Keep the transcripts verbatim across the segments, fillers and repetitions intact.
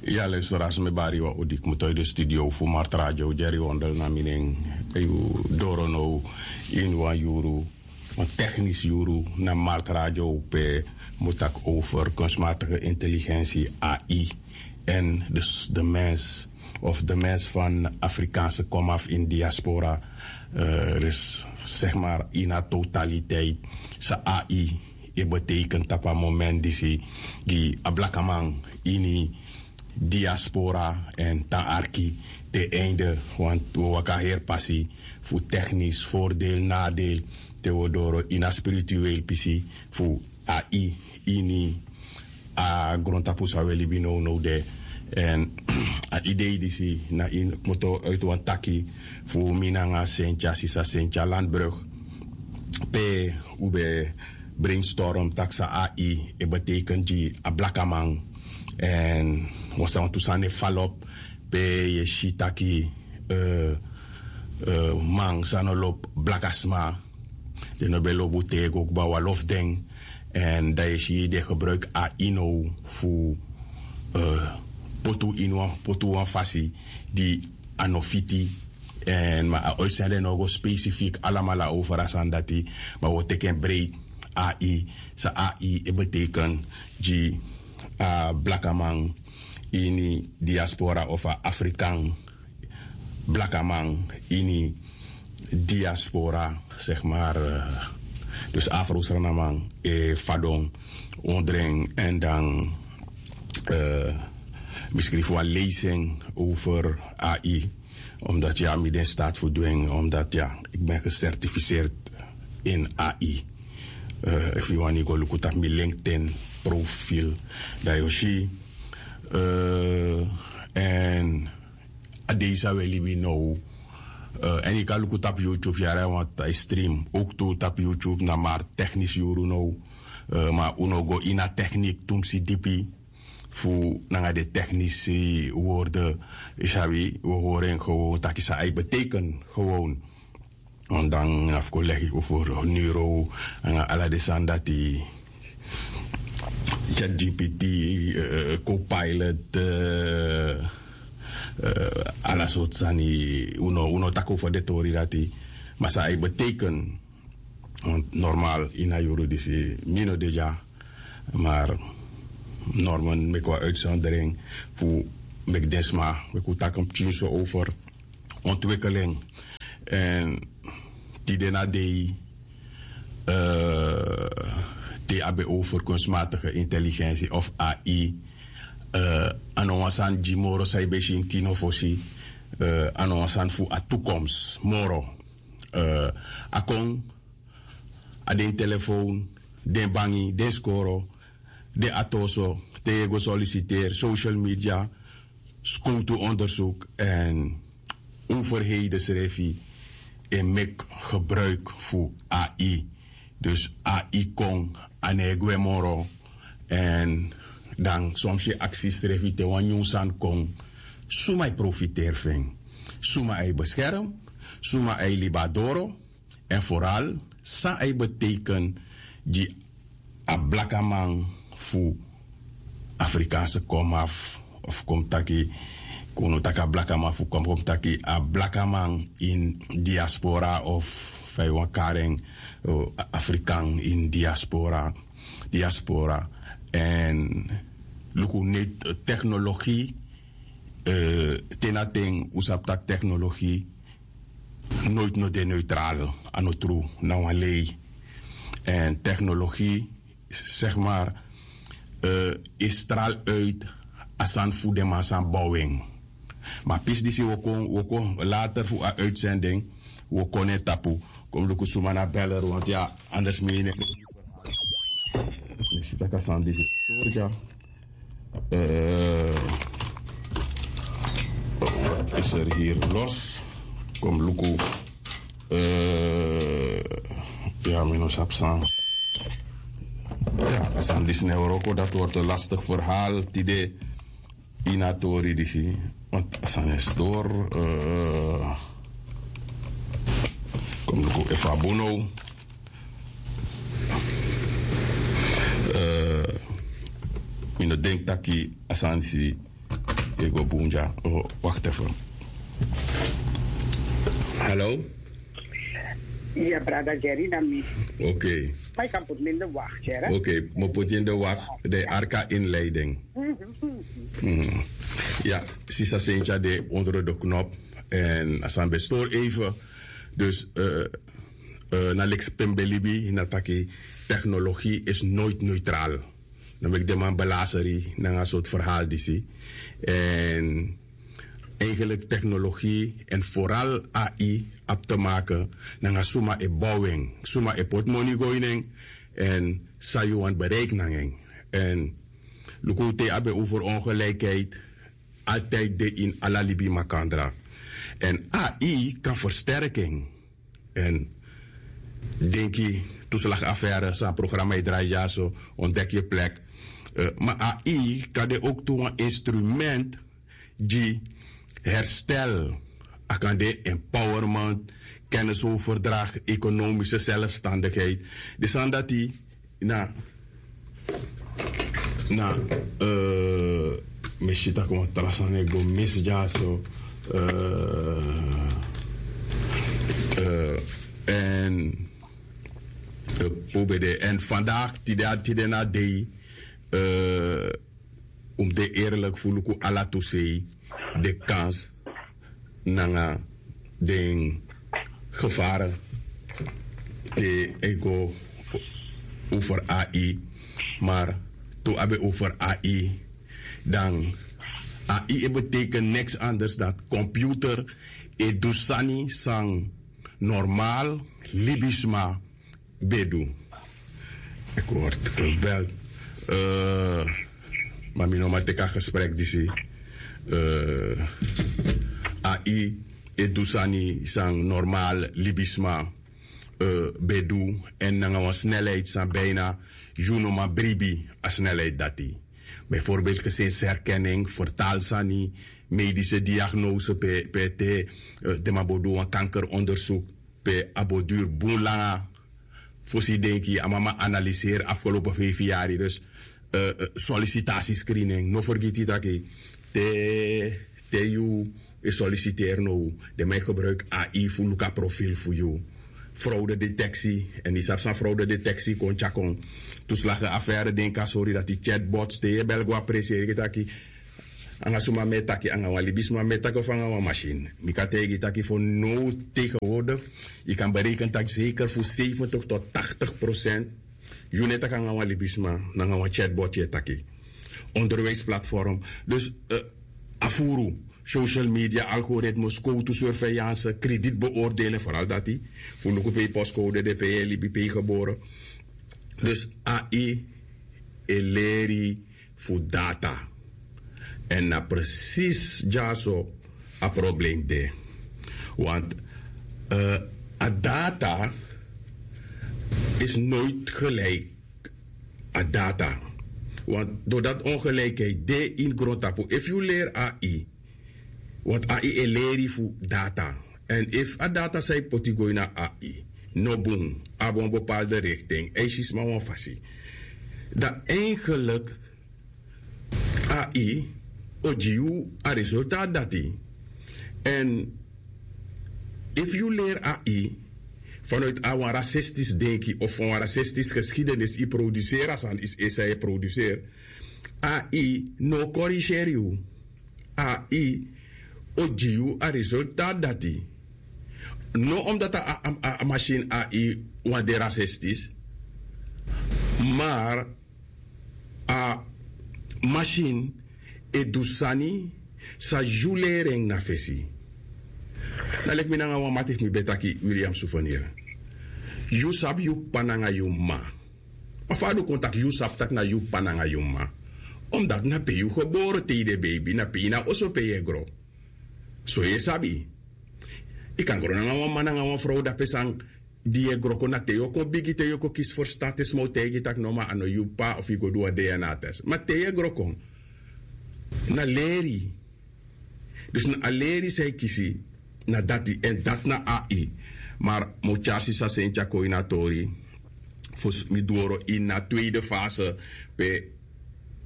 Ya, luisteraars, mi bari wan odi kmoto ini de studio fu Martradio, Jerry Wondel na mi nen. Yu doro now ini wan yuru, wan technisch yuru na Martradio, pe mi taki over kunstmatige intelligentie, A I, en dus de mens, of de mens van Afrikaanse komaf in diaspora, eh, dus zeg maar in haar totaliteit, sa A I e betekent tapu a moment disi gi a blakaman ini diaspora en tan arki te einde, want we waka heri pasi fu technisch voordeel, nadeel, te we doro ini a spiritueel pisi fu A I ini a grontapu san we libi nownow de. En a idee disi na ini kmoto uit wan taki fu mi nanga Sentia, sisa Sentia Landbrug, pe u ben brainstorm taki sa A I e betekent gi a blakaman. En wan santu sani e falop, pe yu e si taki, eh, eh, man san no lobi blakasma, den no ben lobi un tego kba, un e lobi den. En dan yu e si den e gebruik A I now fu, eh, poti un ini wan, poti un wan fasi di a no fiti. En ma a uitzending no o go specifiek alamala over a sani dati, ma wi o teki en breed. A I, sa A I e betekent gi a blakaman ini diaspora of a Afrikaan blakaman ini diaspora, zeg maar, eh, dus Afro-Sranaman, eh, fadon, ondren en dan, eh, mi skrifi wan lezing over A I, omdat, ja, mi de in staat fu du en, omdat, ja, ik ben gecertificeerd in A I. Eh, efu yu wani go luku tapu mi LinkedIn profiel, dan yu o si. Eh, en a dei san we libi now. Eh, en yu kan luku tapu YouTube, yara, want a e stream ook tu tapu YouTube, na maar technisch yuru now. Eh, ma un no go ini a techniek tumsi dipi fu nanga den technische woorden, yu sabi, we horen gewoon taki sa A I betekent gewoon. Want dan na fu kon legi over neuro, nanga ala den sani dati, ChatGPT, eh, Copilot, eh, eh, ala sortu sani, un no, un no taki over den tori dati. Ma sa A I betekent, want normaal ini a yuru disi mi no de dya, maar normaal meki wan uitzondering fu meki den sma, meki un taki pikinso over ontwikkeling. En tide na dei, eh, te a ben over kunstmatige intelligentie of A I, eh, a no wan sani di moro san yu ben si ini kino fosi, eh, a no wan sani fu a toekomst moro. Eh, a kon, a den telefoon, den bangi, den skoro, den atoso, te yu e go solliciteer, social media, skowtu onderzoek en overheden srefi e meki gebruik fu A I. Dus A I kon, a no e gwe moro. En dan soms yu e aksi yusrefi, te wan nyun sani kon, suma e profiteer fu en? Suma a e bescherm? Suma a e libi doro? En vooral, san a e betekent gi a blakaman fu Afrikaanse komaf, of kon mi taki, kon un taki a blakaman fu kom, kon mi taki a blakaman in diaspora, of fa yu wani kari en, eh, Afrikaan in diaspora, diaspora. En luku, net technologie, eh, te na ten un sabi taki technologie nooit no de neutraal, a no tru, na wan lei. En technologie, zeg maar, eh, e straal uit a sani fu den man san bow en. Ma pisi disi wi o kon, wi o kon later fu a uitzending, wi o kon na en tapu. Kon mi luku suma na beller, want ya, anders mi e ne. Mi si taki a sani disi. Eh, wat is er hier los? Kon mi luku. Eh, ya, mi no sabi san. Ya, a sani disi no e wroko, dat wordt een lastig verhaal tide ini a tori disi. Want a sani e stori, eh, kon mi luku efu a bun now. Eh, mi no denki taki a sani disi e go bun dya. Wakti efu. Hallo. Ya brada Jerry na mi. Oke. Ma yu kan poti mi in de wak, Jerry. Oke, mi o poti yu in de wak. De arka inleiding. Ya, sisa Sentya de onder de knop. En a san ben stori even. Dus na leki pe mi ben libi na taki technologie is nooit neutraal. Dan meki den man belaseri nanga a sortu verhaal disi. En eigenlijk technologie en vooral ai abi te maken nanga suma e bow en, suma e poti moni go ini en, en san yu wani bereiki nanga en. En luku te yu abi over ongelijkheid, altijd de ini ala libi makandra. En ai kan versterki en. En denki toeslagaffaire san programma e drai dyaso, ontdek yu plek. Ma ai kan de ook tu wan instrument gi herstel. A kan de empowerment, kennisoverdrag, economische zelfstandigheid. Di sani dati na na mi si taki wan tra sani e go misi dyaso. En un ben de en vandaag tide na dei un mus de eerlik fu luku ala tu sei de kans nanga den gevaren te e go over ai. Maar tu abi over ai, dan ai e beteken niks anders dan computer e du sani san normaal libisma ben du. Ik word gebeld. Ma mi no man teki a gesprek disi. Ai e du sani san normaal libisma ben du, en nanga wan snelheid san bijna yu no man bribi a snelheid dati. Bijvoorbeeld gesinserkenning, vertaal sani, medische diagnose pe te den man bo du wan kankeronderzoek pe a bo duru bun langa. Fosi denki a mama analiseri afgelopen vijf yari. Dus sollicitatiescreening no fergiti taki te te yu e solliciteri now, den man e gebruiki ai fu luku a profil fu yu. Fraude detectie, en yu sabi san fraude detectie kon tyakon. Toeslage affaire denki a sori dati chatbots te yu e bel go a presi e taki nanga suma mi e taki nanga wan libisma mi e taki of nanga wan masin. Mi kan taigi yu taki fu now tegenwoordig yu kan bereikeni taki zeker fu zeventig tot tachtig procent yu no e taki nanga wan libisma, nanga wan chatbot yu e taki. Onderwijsplatform. Dus a furu social media algoritmes, kowtu surveillance, kredietbeoordeling, vooral dati fu luku pe yu postcode de, pe yu e libi, pe yu gebore. Dus ai e leri fu data. En na presis dyaso a probleem de. Want a data is nooit gelijk a data. Want doordat ongelijkheid de in grondtapu, efu yu leri ai, want ai e leri fu data. En efu a data san yu poti go ini a ai no bun, abi wan bepaalde richting, eisi sma wan fasi, dan eigenlijk ai o gi yu a resultaat dati. En efu yu leri ai vanuit a wan racistisch denki of wan racistisch geschiedenis, yu produseri a sani yu e produseri, ai no korigeri yu. Ai o gi yu a resultaat dati. No omdat a masin ai wan de racistisch, maar a masin e du sani san yu leri en na fesi. Na leki mi nanga wan mati fu mi ben taki, William Souvenir, yu sabi yu p'pa nanga yu m'ma. Ma fa a du kon taki yu sabi taki na yu p'pa nanga yu m'ma? Omdat na pe yu gebore te yu de beibi, na pe yu na oso pe yu e gro. So yu e sabi, yu kan gro nanga wan man nanga wan frow dape san di yu e gro kon na te yu o kon bigi te yu o kon kisi ferstan te sma o taigi yu taki no ma a no yu p'pa of yu go du wan dna test ma te yu e gro kon na leri. Dus na a leri san yu kisi na dati èn dati na ai. Mar mi o tyari sisa senti a kon ini a tori. Fosi mi doro ini a tweede fase pe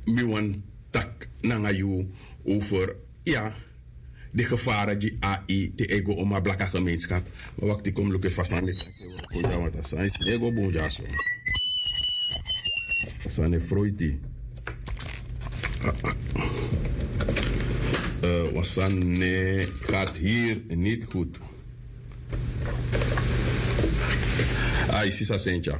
mi wani taki nanga yu over, ya, de gefara gi ai te ego oma blaka gemeenskap. Ma wakti kon mi luku efu a sani de taki e wroko dya, want a sani no e go bun dya so. A sani e froiti. Wan sani ne gat hiri niti gudu. Ai sisa sentya.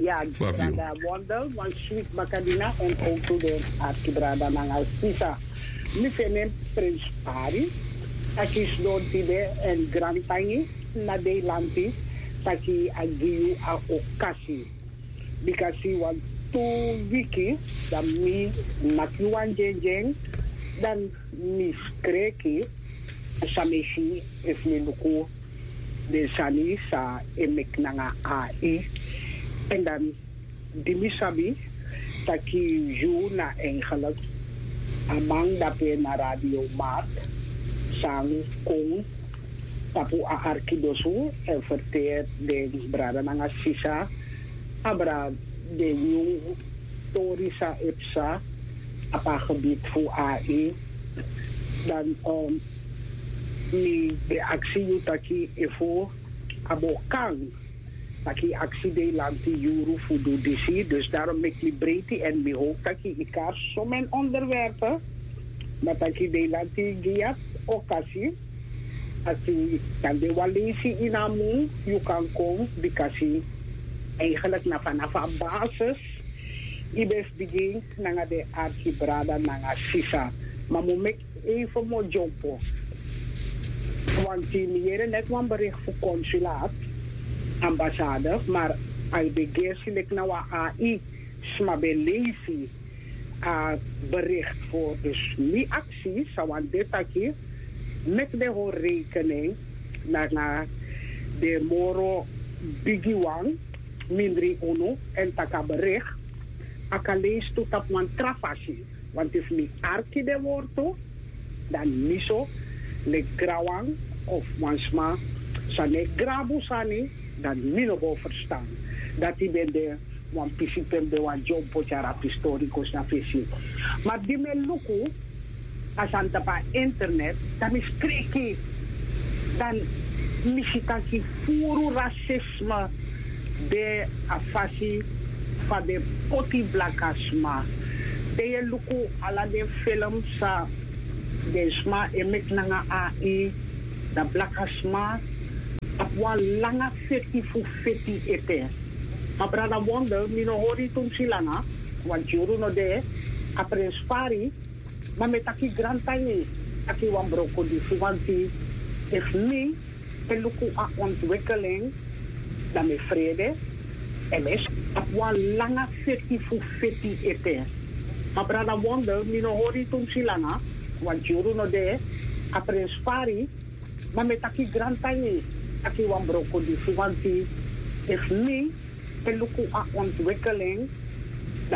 Ya, brada Wonder, wan switi bakadina en otu den arkibrada nanga sisa. Mi feni en prenspari taki sidon tide en grantangi na deilanti taki a gi yu a okasi. Bika si wan tu wiki dan mi naki wan dyendyen dan mi skreki san mi e si efu mi luku den sani san e meki nanga ai. Èn dan di mi sabi taki yu na eigenlik a man dape na radio mark san kon tapu a arkidosu èn ferteri den brada nanga sisa abra den nyun tori san e psa tapu a gebiti fu ai. Dan mi ben aksi yu taki efu a bo kan taki aksi deilanti yuru fu du disi dus darom meki mi breiti èn mi howpu taki yu kari somen onderwerpe. Ma taki deilanti gi yu a okasi taki dan de wan leisi ini a mun yu kan kon bika si eigenlik na fanafu a basis yu ben fu bigin nanga den arkibrada nanga sisa. Ma mi o meki even mi o dyompo wanti mi yere neti wan bericht fu konsulaat ambasade mar a e ben gersi leki na wan ai sma ben leisi a bericht fu dus mi aksi san wani de taki meki den hori rekening nanga den moro bigiwan mindri unu èn taki a bericht a kan leisi tu tapu wan tra fasi. Wanti fu mi arki den wortu dan mi so leki granwan of wan sma san no e grabu sani dan mi no bo ferstan. Dati ben de wan pisi pe mi ben wani dyompo tyari a pistori kosi na fesi. Ma di mi e luku a sani tapu a internet dan mi skreki dan mi si taki furu rasisme de a fasi fa den poti blakasma. Te yu e luku ala den film san den sma e meki nanga ai dan blakasma abi wan langa feti fu feti ete. Ma brada wonder mi no hori yu tumsi langa. Wan tyuru no de a prenspari ma mi e taki grantangi taki wan broko disi wanti efu mi e luku a ontwikeling dan mi e frede. Èn mi e si abi wan langa feti fu feti ete. Ma brada wonder mi no hori yu tumsi langa. Wan tyuru no de a prenspari ma mi e taki grantangi taki wan broko disi wanti efu mi e luku a ontwikeling